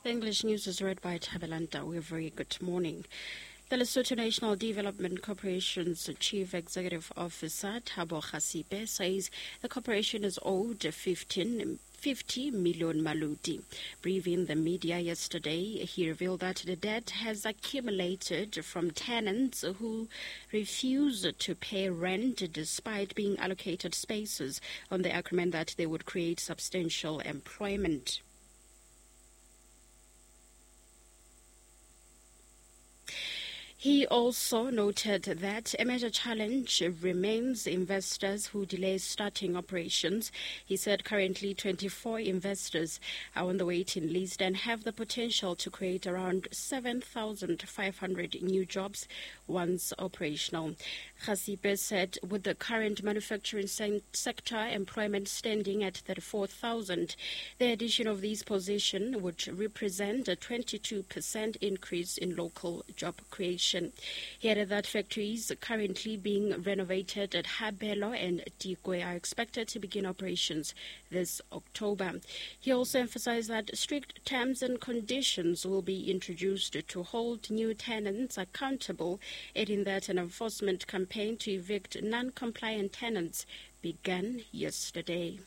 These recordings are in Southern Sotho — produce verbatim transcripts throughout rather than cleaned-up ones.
The English news is read by Tabelanta. We're very good morning. The Lesotho National Development Corporation's Chief Executive Officer, Thabo Khasipe, says the corporation is owed fifteen fifty million maluti. Briefing the media yesterday, he revealed that the debt has accumulated from tenants who refuse to pay rent despite being allocated spaces on the agreement that they would create substantial employment. He also noted that a major challenge remains investors who delay starting operations. He said currently twenty-four investors are on the waiting list and have the potential to create around seven thousand five hundred new jobs once operational. Khasipe said with the current manufacturing se- sector employment standing at thirty-four thousand, the addition of these positions would represent a twenty-two percent increase in local job creation. He added that factories currently being renovated at Habelo and Dikwe are expected to begin operations this October. He also emphasized that strict terms and conditions will be introduced to hold new tenants accountable, adding that an enforcement campaign to evict non-compliant tenants began yesterday.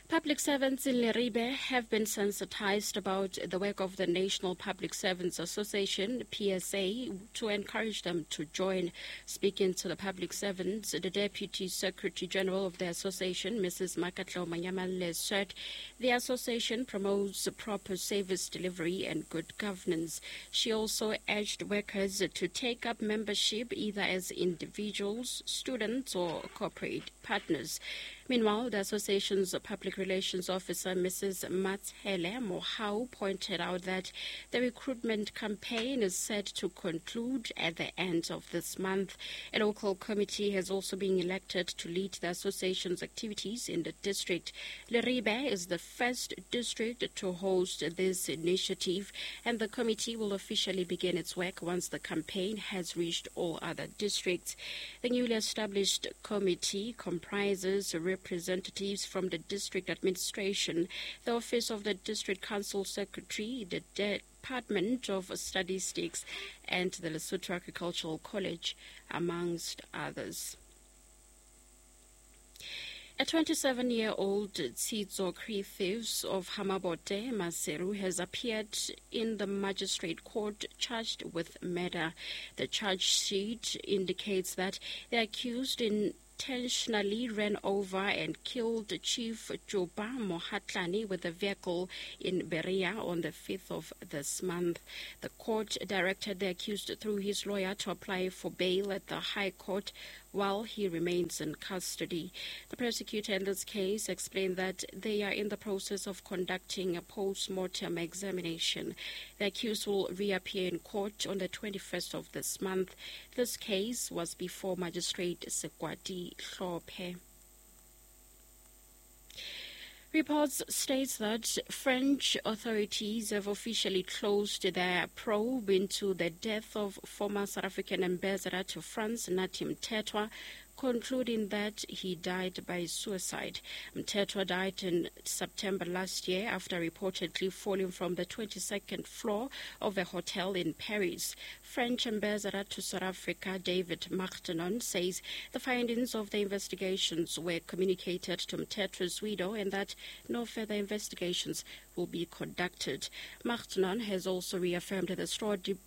Public servants in Leribe have been sensitized about the work of the National Public Servants Association, P S A, to encourage them to join. Speaking to the public servants, the Deputy Secretary General of the association, Missus Makatlo Manyamale, said the association promotes proper service delivery and good governance. She also urged workers to take up membership either as individuals, students, or corporate partners. Meanwhile, the association's public relations officer, Missus Matshele Mohau, pointed out that the recruitment campaign is set to conclude at the end of this month. A local committee has also been elected to lead the association's activities in the district. Leribe is the first district to host this initiative, and the committee will officially begin its work once the campaign has reached all other districts. The newly established committee comprises representatives from the district administration, the office of the district council secretary, the Department of Statistics, and the Lesotho Agricultural College, amongst others. A twenty-seven-year-old Tsizo Creatives of Hamabote, Maseru, has appeared in the magistrate court charged with murder. The charge sheet indicates that the accused in intentionally ran over and killed Chief Joba Mohatlani with a vehicle in Berea on the fifth of this month. The court directed the accused through his lawyer to apply for bail at the High Court while he remains in custody. The prosecutor in this case explained that they are in the process of conducting a post-mortem examination. The accused will reappear in court on the twenty-first of this month. This case was before Magistrate Sekwati Hlophe. Reports state that French authorities have officially closed their probe into the death of former South African ambassador to France, Nathi Mthethwa, concluding that he died by suicide. Mthethwa died in September last year after reportedly falling from the twenty-second floor of a hotel in Paris. French ambassador to South Africa, David Martinon, says the findings of the investigations were communicated to Mthethwa's widow and that no further investigations will be conducted. Martinon has also reaffirmed the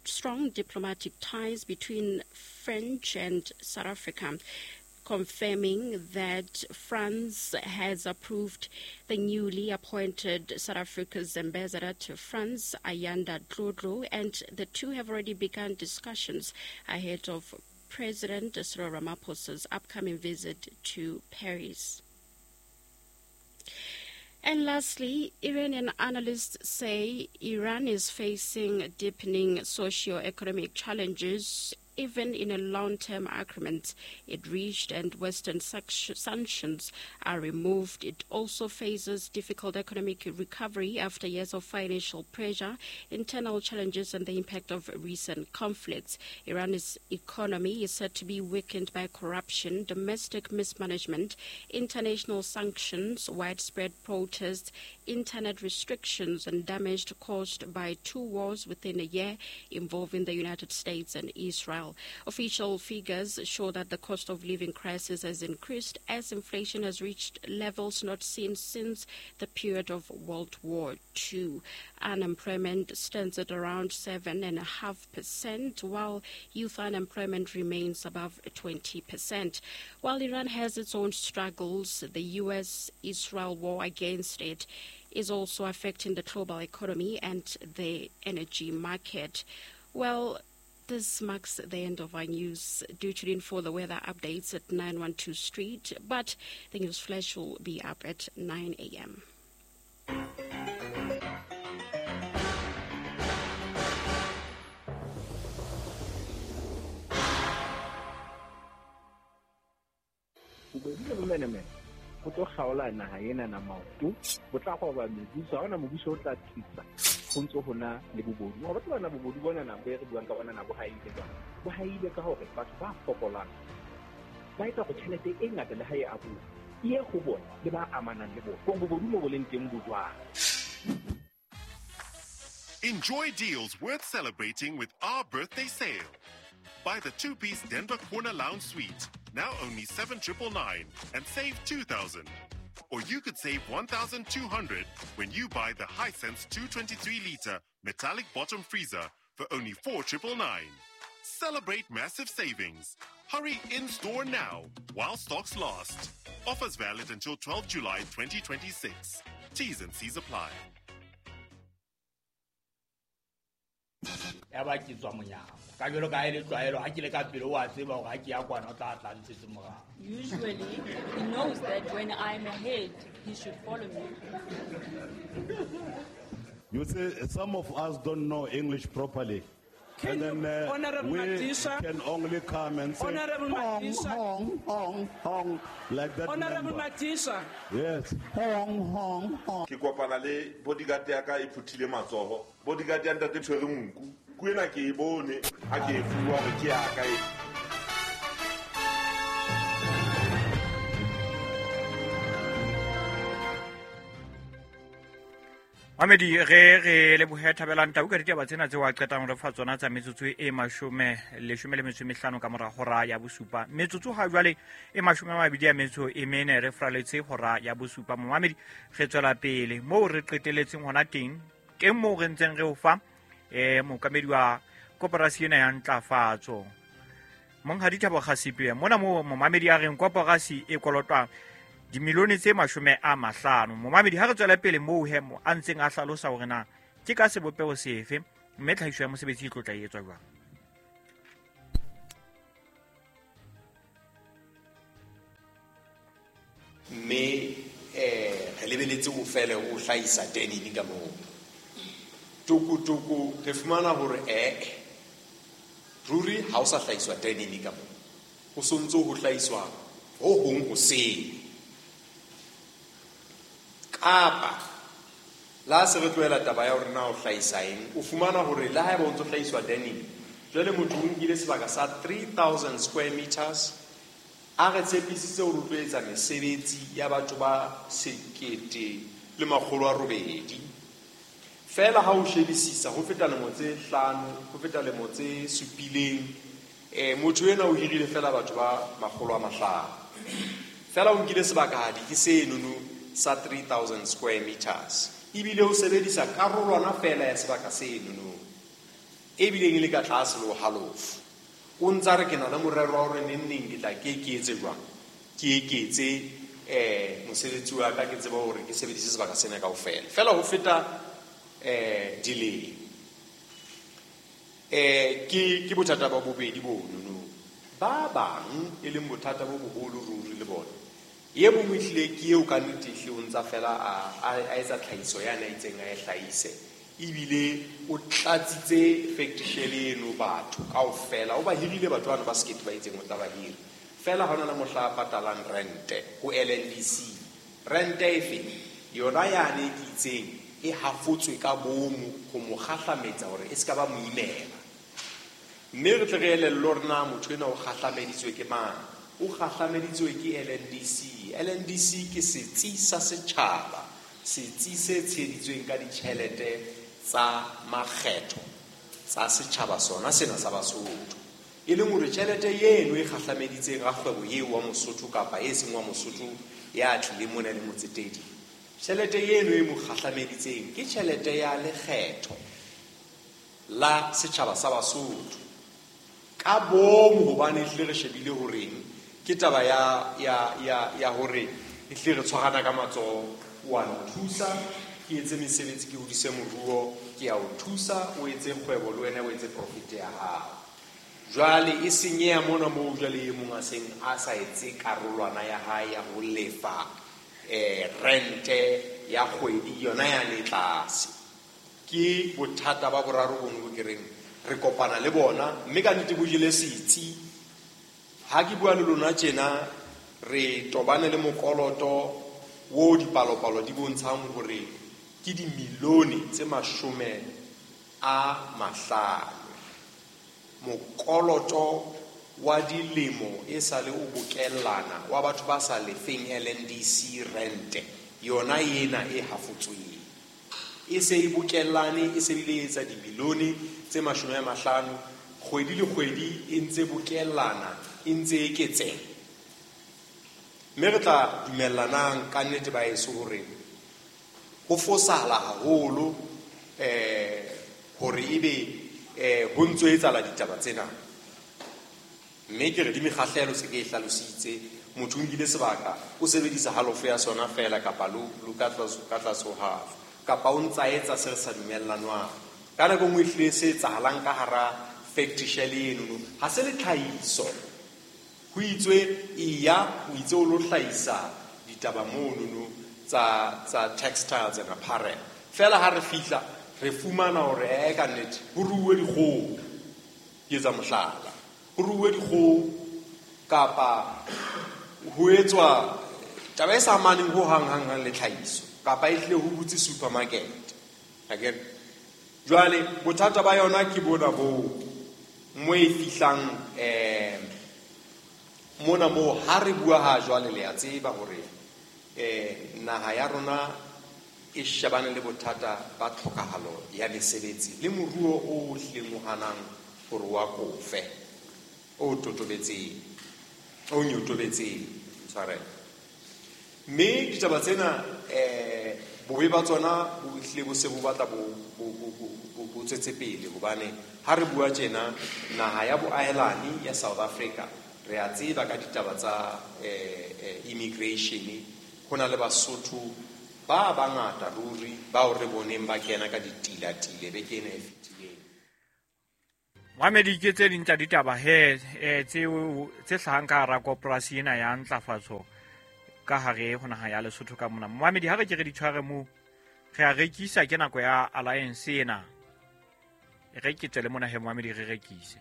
strong diplomatic ties between French and South Africa, confirming that France has approved the newly appointed South Africa's ambassador to France, Ayanda Dlodlo, and the two have already begun discussions ahead of President Cyril Ramaphosa's upcoming visit to Paris. And lastly, Iranian analysts say Iran is facing deepening socio-economic challenges even in a long-term agreement it reached and Western sanctions are removed. It also faces difficult economic recovery after years of financial pressure, internal challenges, and the impact of recent conflicts. Iran's economy is said to be weakened by corruption, domestic mismanagement, international sanctions, widespread protests, internet restrictions, and damage caused by two wars within a year involving the United States and Israel. Official figures show that the cost of living crisis has increased as inflation has reached levels not seen since the period of World War Two. Unemployment stands at around seven point five percent, while youth unemployment remains above twenty percent. While Iran has its own struggles, the U S Israel war against it is also affecting the global economy and the energy market. Well, this marks the end of our news. Do tune in for the weather updates at nine one two Street, but the news flash will be up at nine a.m. Ho tlo kgaola naha ena na maoto, bo tla goba mebuso, ha hona mobuso o tla tsitsa ho ntso hona le bobodu. Ho batla bana bobodu bona na bo re buang ka bona na bo haile jwang. Bo haile ka hore batho ba fokolang ba etsa go tjhelete e ngata le ha e abuwa e ye ho bona le ba amanang le bona. Bobodu mo bo leng teng bo jwang. Enjoy deals worth celebrating with our birthday sale. Buy the two-piece Denver Corner Lounge Suite, now only seven triple nine, and save two thousand. Or you could save one thousand two hundred when you buy the Hisense two twenty-three liter metallic bottom freezer for only four triple nine. Celebrate massive savings. Hurry in-store now while stocks last. Offers valid until twelfth July twenty twenty-six. T's and C's apply. Ya ba ke tswa monyako ka jalo ka e le tlwaelo ha ke le ka pele wa tseba hore ha ke ya kwana o tla tla ntshetse morao. Usually he knows that when I'm ahead he should follow me. You see, some of us don't know English properly. Can and then uh, Honorable we Madisha, can only come and say Honorable hong, Madisha, hong, hong, hong, like that. Honorable member. Madisha. Yes. Hong, hong, hong. Ke kopana le bodyguard ya ka e phuthile matsoho. Bodyguard ya ntate tshwere nku. Ku ena ke e bone ha ke e fuwa hore ke ya ka e. Mamedi re re lebohe Thabelang Tau ka ditaba tsena tseo a qetang re fa tsona tsa metsotso e mashome leshome le metso e mehlano ka mora hora ya bosupa. Metsotso ha jwale e mashome a mabedi a metso e mene re fraletse hora ya bosupa. Momamedi re tswela pele moo re qeteletseng hona teng, teng moo re ntseng re o fa eh mookamedi wa koporasi ena ya ntlafatso Monghadi Thabo Kgasipe. Mona moo momamedi a reng koporasi e kolotwa dimilione tse mashome a mahlano. Momamedi ha re tswela pele moo he mo a ntseng a hlalosa hore na ke ka sebopeho sefe mme tlhahiso ya mosebetsi e tlo tla etswa jwang. Mme eh re lebeletse o fele o hlahisa denim ka moo. Tukutuku re fumana hore eh ruri ha o sa hlahiswa denim ka moo. Ho sontso ho hlahiswa ho hong ho sele. Kapa la se re tlohela taba ya hore na o hlahisa eng, o fumana hore le haeba o ntso hlahiswa denim, jwale motho o nkile sebaka sa three thousand square meters a re tshepisitse hore o tlo etsa mesebetsi ya batho ba sekete le makgolo a robedi. Fela ha o shebisisa ho feta lemo tse hlano, ho feta lemo tse supileng, eh motho ena o hirile fela batho ba makgolo a mahlano. Fela o nkile sebakahadi ke senono sa three thousand square meters. Ebile o sebedisa karolwana fela ya sebaka senono e bileng e le ka tlase le ho halofo. O ntsa re ke na le morero wa hore neng neng ke tla ke ke etse jwang, ke eketse eh mosebetsi wa ka, ke tseba hore ke sebedise sebaka sena kaofela. Fela ho feta eh dilemo. Eh ke ke bothata ba bobedi bonono. Ba bang e leng bothata bo boholo ruri le bona. Ye bongwe ehlile ke eo ka nnete ehlile o ntsa fela a a etsa tlhahiso ya na itseng a e hlahise. Ebile o tlatsitse factory shell eno batho kaofela, o ba hirile batho bano ba sekete ba itseng o tla ba hira. Fela ha hona le mohla a patalang rente ho L N D C. Rente efe? Yona yane e ke itseng e hafotswe ka bomo ho mo kgahlametsa hore e ska ba mo imela. Mme re tle re elellwe hore na motho enwa o kgahlameditswe ke mang. O kgahlameditswe ke L N D C. L N D C ke setsi sa setjhaba, setsi se tsheheditsweng ka ditjhelete tsa makgetho tsa setjhaba sona sena sa Basotho. E leng hore tjhelete eno e kgahlameditseng rakgwebo eo wa Mosotho kapa e seng wa Mosotho ya tlileng mona le motsetedi, tjhelete eno e mo kgahlameditseng ke tjhelete ya lekgetho la setjhaba sa Basotho. Ka bomo hobane ehlile re shebile horeng ke taba ya ya ya ya hore ehlile re tshwarana ka matsoho, wa nthusa ke etse mesebetsi, ke hodise moruo, ke a o thusa o etse kgwebo le wena o etse profit ya hao. Jwale e senyeha mona moo jwale e mong a seng a sa etse karolwana ya hae ya ho lefa eh rente ya kgwedi yona ya le tlase. Ke bothata ba boraro bono bo ke reng re kopana le bona, mme ka nnete bo jele setsi. Ha ke bua le lona tjena re tobane le mokoloto wo dipalopalo di bontshang hore ke dimilione tse mashome a mahlano. Mokoloto wa dilemo e sale o bokellana wa batho ba sa lefeng L N D C rente yona ena e hafotsweng e se e bokellane, e se bile e etsa dimilione tse mashome a mahlano kgwedi le kgwedi, e ntse bokellana, e ntse eketseha. Mme re tla dumellanang ka nnete ba eso hore ho fosahala haholo eh hore ebe eh ho ntso etsahala ditaba tsena. Mme ke re di mekgahlelo se ke e hlalositse, motho o nkile sebaka o sebedisa halofo ya sona fela kapa lo lo ka tlase ka tlase ho half, kapa o ntsa etsa se re sa dumellanwang. Ka nako e nngwe ehlile se etsahalang ka hara factory shell eno ha se le tlhahiso. Ho itswe eya o itse o lo hlahisa ditaba monono tsa tsa textiles and apparel. Fela ha re fihla re fumana hore eh ka nnete ho ruuwe dikgoho, ke etsa mohlala, ho ruuwe dikgoho kapa ho etswa taba e sa amaneng ho hang hang hang le tlhahiso, kapa e hlile ho butse supermarket. Akere jwale bothata ba yona ke bona bo mo e fihlang eh mona moo ha re bua ha jwale le a tseba hore eh naha ya rona e shebane le bothata ba tlhokahalo ya mesebetsi le moruo o hlileng o hanang hore wa kofe o totobetseng o nyotobetseng tshwarelo. Mme ditaba tsena eh bobe ba tsona bo hlile bo se bo batla bo bo bo bo tswetse pele, hobane ha re bua tjena naha ya boahelani ya South Africa re a tseba ka ditaba tsa eh immigration, ho na le Basotho ba bangata ruri bao re boneng ba kena ka ditilatile beke ena e fetileng. Mohamedi, ke tse ding tsa ditaba he eh tseo tse hlahang ka hara koporasi ena ya ntlafatso ka hare ho naha ya Lesotho ka mona. Mohamedi, ha re ke re di tshware moo re a rekisa, ke nako ya alliance ena. Re ke tswele mona he Mohamedi re rekise.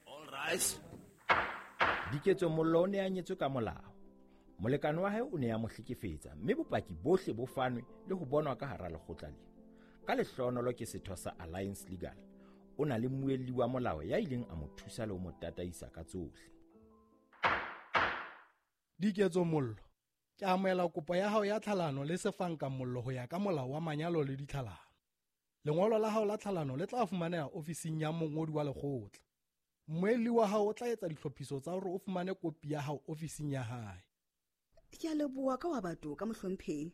All right. Diketso Mollo o ne a nyetswe ka molao. Molekane wa hae o ne a mo hlekefetsa mme bopaki bohle bo fanwe le ho bonwa ka hara lekgotla lena. Ka lehlohonolo ke setho sa Alliance Legal. O na le mmuelli wa molao ya ileng a mo thusa le ho mo tataisa ka tsohle. Diketso Mollo, ke amohela kopo ya hao ya tlhalano le Sefanka Mollo ho ya ka molao wa manyalo le ditlhalano. Lengolo la hao la tlhalano le tla fumaneha ofising ya mongodi wa lekgotla. Mmuelli wa hao o tla etsa ditlhophiso tsa hore o fumane kopi ya hao ofising ya hae. Ke a leboha ka wa batho ka mohlomphehi.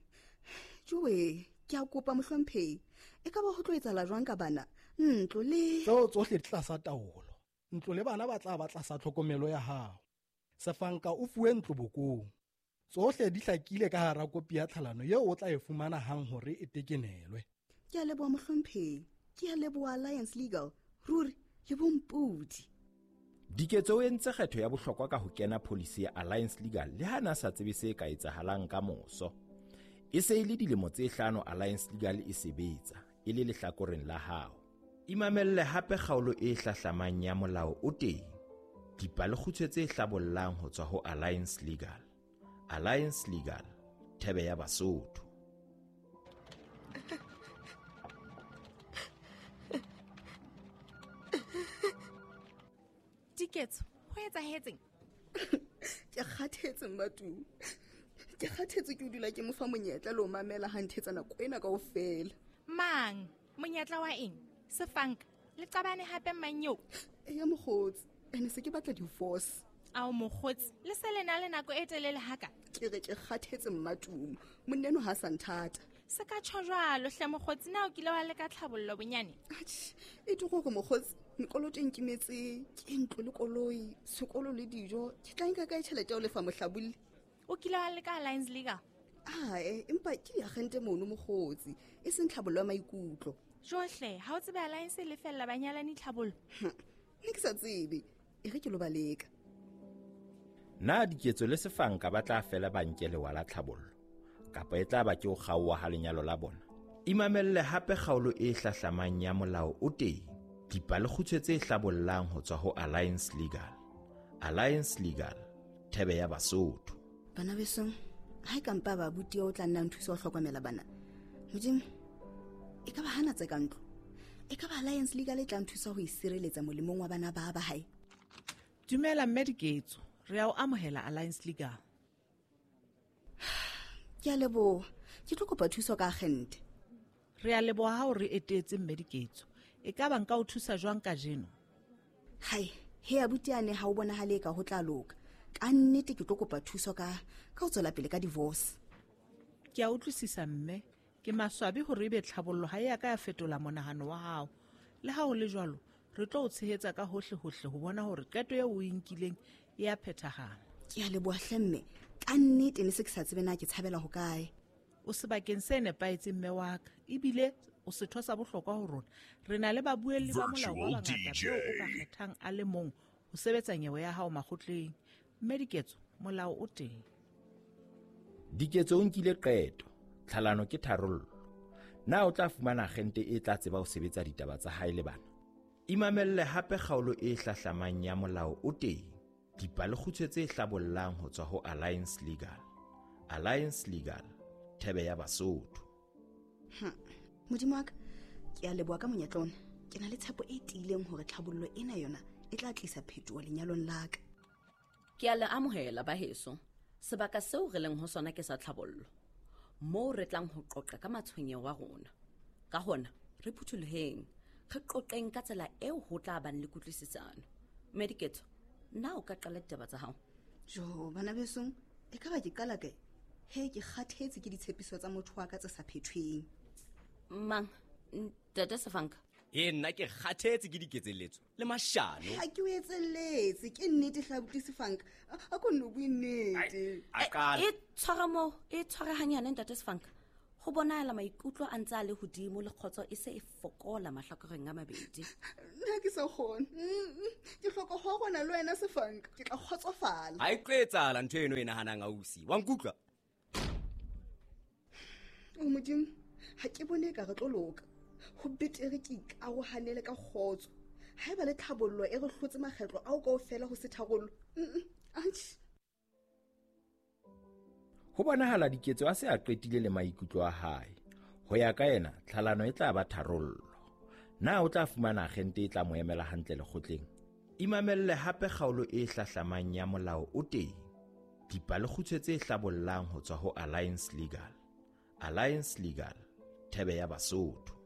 Jowe, ke a kopa mohlomphehi. E ka ba ho tlo etsahala jwang ka bana? Ntlo le tseo tsohle di tlasa taolo. Ntlo le bana ba tla ba tlasa tlhokomelo ya hao. Sefanka o fuwe ntlo bokong. Tsohle di hlakile ka hara kopi ya tlhalano eo o tla e fumana hang hore e tekenelwe. Ke a leboha mohlomphehi. Ke a leboha Alliance Legal. Ruri le bompodi. Diketso o entse kgetho ya bohlokwa ka ho kena policy ya Alliance Legal le ha na sa tsebe se ka etsahalang ka moso. E se e le dilemo tse hlano Alliance Legal e sebetsa. e le lehlakoreng la hao. Imamelle hape kgaolo e hlahlamang ya Molao o Teng. Dipalekgutshwe tse hlabollang ho tswa ho Alliance Legal. Alliance Legal, thebe ya Basotho. Diketso, ho etsahetseng? Ke kgathetse Mmatu. Ke kgathetse ke o dula ke mo fa monyetla le ho mamela ha nthetsa nako ena kaofela. Mang? Monyetla wa eng? Sefanka, le qabane hape mang eo? Eya mokgotsi, ene se ke batla divorce. Ao mokgotsi, le se le na le nako e telele haka? Ke re ke kgathetse Mmatumo, monna eno ha sa nthata. Se ka tjho jwalo hle mokgotsi, na o kile wa leka tlhabollo bonyane? Atjhe, e tlo hore mokgotsi, mekoloto e nkimetse, ke ntlo le koloi, sekolo le dijo, ke tla nka kae tjhelete ya ho lefa mohlabolli? O kile wa leka Alliance Legal? Ae, empa ke diagente mono mokgotsi, e seng tlhabollo ya maikutlo. Johle, ha o tsebe Alliance e lefella banyalani tlhabollo? Ne ke sa tsebe, e re ke lo ba leka. Na Diketso le Sefanka ba tla fela ba nke lewa la tlhabollo, kapa e tla ba ke ho kgaoha ha lenyalo la bona? Imamelle hape kgaolo e hlahlamang ya Molao o Teng. Dipalekgutshwe tse hlabollang ho tswa ho Alliance Legal. Alliance Legal, thebe ya Basotho. Bana besong, ha e ka mpa ba abuti o tla nna nthusa ho hlokomela bana. Modimo, e ka ba hana tse ka ntlo. E ka ba Alliance Legal e tla nthusa ho isireletsa molemong wa bana ba ba hae. Dumela mme Diketso, re a o amohela Alliance Legal. Ke a leboha, ke tlo kopa thuso ka agente. Re a leboha ha o re etetse mme Diketso. E ka ba nka o thusa jwang kajeno? Hai, he abuti ane ha o bonahale ka ho tla loka. Ka nnete ke tlo kopa thuso ka ka ho tswela pele ka divorce. Ke a utlwisisa mme, ke maswabi hore ebe tlhabollo ha e a ka ya fetola monahano wa hao. Le ha ho le jwalo, re tlo o tshehetsa ka hohle hohle ho bona hore qeto eo o e nkileng e a phethahala. Ke a leboha hle mme, ka nnete ne se ke sa tsebe na ke tshabela ho kae. O sebakeng se nepahetseng mme wa ka, ebile o setho sa bohlokwa ho rona. Re na le babuelli ba molao ba bangata beo o ka kgethang a le mong ho sebetsa nyewe ya hao makgotleng. Mme Diketso, molao o teng. Diketso o nkile qeto, tlhalano ke tharollo. Na o tla fumana agente e tla tseba ho sebetsa ditaba tsa hae le bana? Imamelle hape kgaolo e hlahlamang ya Molao o Teng. Dipalekgutshwe tse hlabollang ho tswa ho Alliance Legal. Alliance Legal, thebe ya Basotho. Hm. Modimo wa ka, ke a leboha ka monyetla ona. Ke na le tshepo e tiileng hore tlhabollo ena yona e tla tlisa phetoho lenyalong la ka. Ke a le amohela ba heso. Sebaka seo re leng ho sona ke sa tlhabollo, moo re tlang ho qoqa ka matshwenyeho a rona. Ka hona, re phuthuloheng, re qoqeng ka tsela eo ho tla bang le kutlwisisano. Mme Diketso, na o ka qala ditaba tsa hao? Jo, bana besong, e ka ba ke qala kae? He, ke kgathetse ke ditshepiso tsa motho wa ka tse sa phethweng. Mang, ntate Sefanka? E nna ke kgathetse ke diketselletso le mashano. Ha ke o etselletse, ke nnete hle abuti Sefanka. A ko nno bue nnete. E tshwara moo, e tshware hanyane ntate Sefanka. Ho bonahala maikutlo a ntse a le hodimo le kgotso e se e fokola mahlakoreng a mabedi. Nna ke sa kgone. Ke hloka ho rona le wena Sefanka, ke tla kgotsofala. Ha e tlo etsahala ntho eno e nahanang ausi. Wa nkutlwa? O Modimo, ha ke bone ka re tlo loka. Ho betere ke ikarohanele ka kgotso. Haeba le tlhabollo e re hlotse makgetlo ao kaofela ho se tharollo. Atjhe. Ho bonahala Diketso a se a qetile le maikutlo a hae. Ho ya ka yena, tlhalano e tla ba tharollo. Na o tla fumana agente e tla mo emela hantle lekgotleng? Imamelle hape kgaolo e hlahlamang ya Molao o Teng. Dipalekgutshwe tse hlabollang ho tswa ho Alliance Legal. Alliance Legal, thebe ya Basotho.